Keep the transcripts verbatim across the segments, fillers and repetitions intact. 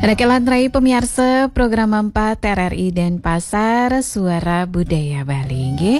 Rekelan rai pemiarsa program empat R R I Denpasar, Suara Budaya Bali, nggih.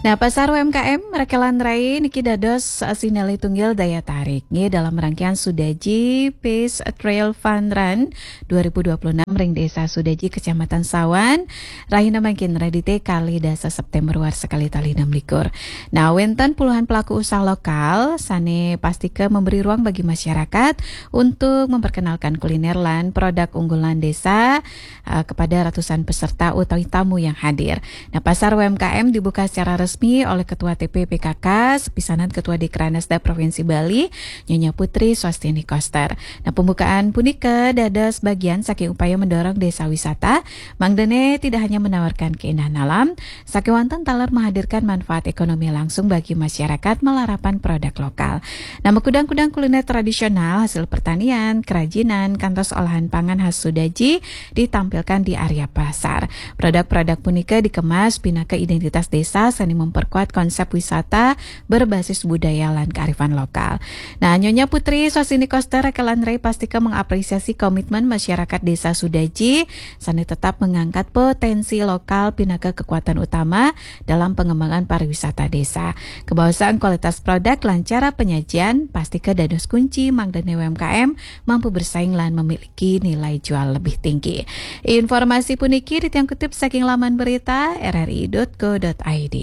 Nah, pasar U M K M, rekelan rai niki dados sinalih tunggil daya tarik, nggih, dalam rangkaian Sudaji Peace Trail Fun Run dua ribu dua puluh enam ring Desa Sudaji, Kecamatan Sawan, rahina mangkin, Redite, kalih dasa September warsa kalih tali enam likur. Nah, wenten puluhan pelaku usaha lokal sane pastika memberi ruang bagi masyarakat untuk memperkenalkan kuliner lan produk unggulan desa, eh, kepada ratusan peserta utawi tamu yang hadir. Nah, pasar U M K M dibuka secara resmi oleh Ketua T P P K K, sepisanan Ketua Dikranasda Provinsi Bali, Nyonya Putri Swastini Koster. Nah, pembukaan punika dados bagian saking upaya mendorong desa wisata, mangdane tidak hanya menawarkan keindahan alam, sakewanten taler menghadirkan manfaat ekonomi langsung bagi masyarakat malarapan produk lokal. Nah, makudang-kudang kuliner tradisional, hasil pertanian, kerajinan, kantos olahan pangan khas Sudaji ditampilkan di area pasar. Produk-produk punika dikemas pinaka identitas desa sane memperkuat konsep wisata berbasis budaya lan kearifan lokal. Nah, Nyonya Putri Swastini Koster, rekelan rai pastika mengapresiasi komitmen masyarakat Desa Sudaji sane tetap mengangkat potensi lokal pinaka kekuatan utama dalam pengembangan pariwisata desa. Kebawasan kualitas produk lan cara penyajian pastika dados kunci mangdane U M K M mampu bersaing lan memiliki nilai jual lebih tinggi. Informasi puniki titiang kutip saking laman berita R R I dot co dot I D.